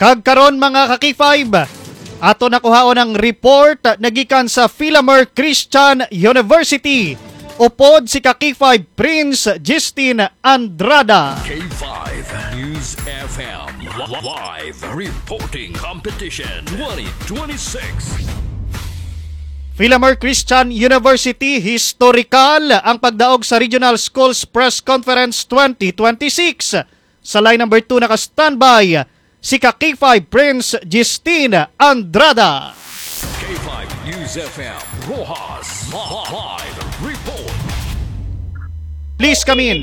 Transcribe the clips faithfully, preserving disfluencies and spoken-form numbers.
Kag karon, mga ka-K five, ato nakuhaon ang report nagikan sa Filamer Christian University. Upod si ka-K five Prince Justin Andrada. K five News F M, li- live reporting competition twenty twenty-six. Filamer Christian University, historical ang pagdaog sa Regional Schools Press Conference twenty twenty-six. Sa line number two, naka-standby si ka-K five Prince Justin Andrada. K five News F M, Roxas, li- live report. Please come in.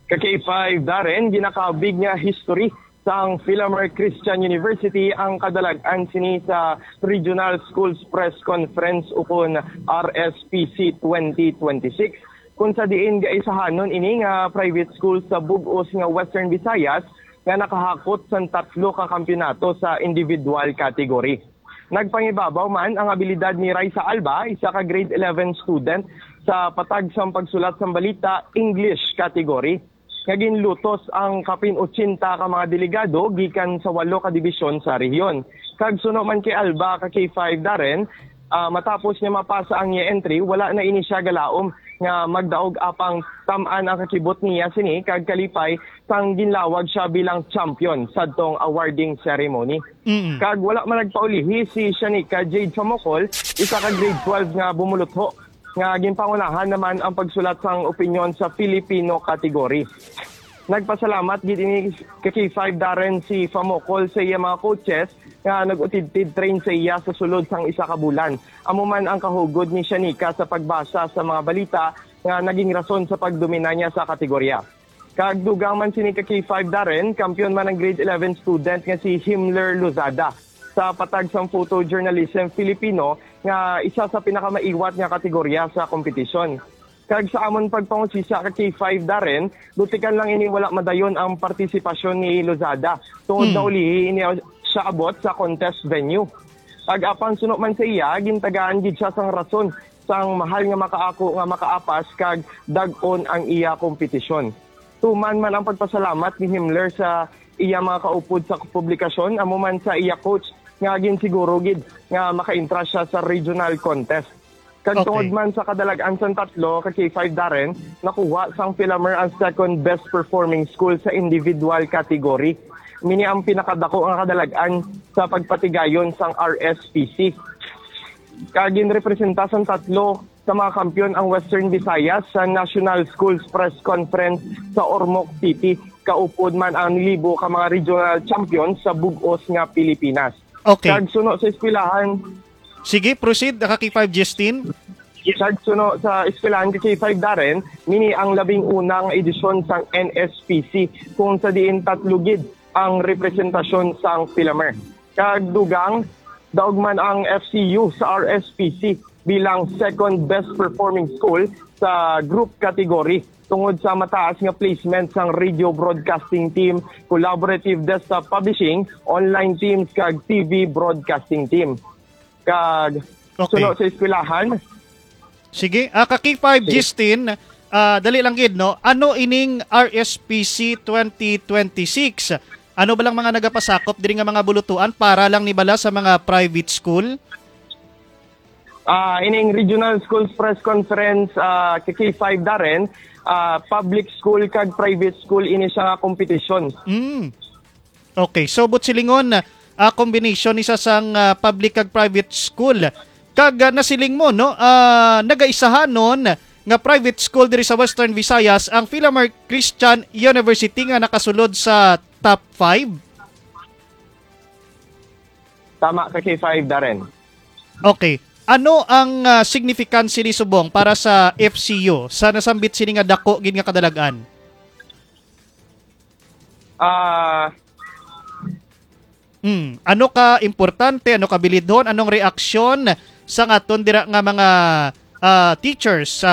Ka-K five Darren, ginakabig nga history sang Filamer Christian University ang kadalag-an sini sa Regional Schools Press Conference, ukon R S P C twenty twenty-six, kung sa diin gaisahanon ini nga private school sa bug-os nga Western Visayas nga nakahakot sang tatlo ka kampiyonato sa individual category. Nagpangibabaw man ang abilidad ni Raisa Alba, isa ka grade eleven student, sa patag sang pagsulat sang balita, English category, nga ginlutos ang kapin ochenta ka mga delegado gikan sa walo ka dibisyon sa rehiyon. Kag suno man kay Alba, ka-K five Darren, ah, matapos niya mapasa ang iya entry, wala na ini siya galaom nga magdaog apang tam-an ang kakibot niya sini kag kalipay sang ginlawag siya bilang champion sadtong awarding ceremony. Mm. Kag wala man nagpaulihi si Shanika Jade Famocol, isa ka grade twelve nga bumulutho, nga ginpangunahan naman ang pagsulat sang opinyon sa Filipino category. Nagpasalamat gid ini ka-K five Darren si Famocol sa iya mga coaches nga nag-utidtid train sa iya sa sulod sang isa ka bulan. Amo man ang kahugod ni Shanika sa pagbasa sa mga balita nga naging rason sa pagdomina niya sa kategorya. Kag dugang man sini ka-K five Darren, kampiyon man ang grade eleven student nga si Himmler Lozada sa patag sang photojournalism Filipino nga isa sa pinakamaiwat nga kategorya sa kompetisyon. Kag sa amon pagpangusisa ka-K five Darren, dutikan lang ini wala madayon ang partisipasyon ni Lozada tungod Hmm. naulihi ini siya abot sa contest venue. Kag apang suno man sa iya, gintagaan gid siya sang rason sang mahal nga makaako nga makaapas kag dag-on ang iya kompetisyon. Tuman man ang pagpasalamat ni Himmler sa iya mga kaupod sa publikasyon, amo man sa iya coach nga ginsiguro gid nga makaentra siya sa regional contest. Kag Okay. tungod man sa kadalag-an sang tatlo ka-K five Darren, nakuha sang Filamer ang second best performing school sa individual category. Mini ang pinakadako nga kadalag-an sa pagpatigayon sang R S P C. Kag ginrepresenta sang tatlo sa mga kampiyon ang Western Visayas sa National Schools Press Conference sa Ormoc City. Kaupod man ang libo ka mga regional champion sa bug-os nga Pilipinas. Okay. Kag suno sa eskwelahan, Sige, proceed, ka-K five Justin. Kag suno sa eskwelahan ka-K five Darren, mini ang labing una nga edisyon sang N S P C, kung sa diin tatlo gid ang representasyon sang Filamer. Kag dugang, daog man ang F C U sa R S P C bilang second best performing school sa group category tungod sa mataas nga placement sang radio broadcasting team, collaborative desktop publishing, online teams, kag T V broadcasting team. Kag Okay. suno sa eskwelahan. Sige, ah, ka-K five Sige. Justin, ah, dali lang gid, no? Ano ining R S P C twenty twenty-six? Ano ba lang mga nagapasakop diri nga mga bulutuan para lang ni bala sa mga private school? Ah, ining Regional Schools Press Conference, ah, ka-K five Darren, ah, public school kag private school ini siya nga competition. Mm. Okay, so buot silingon, ah, combination ni sa sang, ah, public kag private school. Kag, ah, nasiling mo, no, ah, nagaisahanon nga private school diri sa Western Visayas ang Filamer Christian University nga nakasulod sa top five? Tama ka, K five, Darren. Okay. Ano ang, ah, significance ni subong para sa F C U sa nasambit sini nga dako gid nga kadalag-an? Ah, Hmm, ano ka importante, ano ka bilidhon, anong reaksyon sa aton dira nga mga, ah, teachers,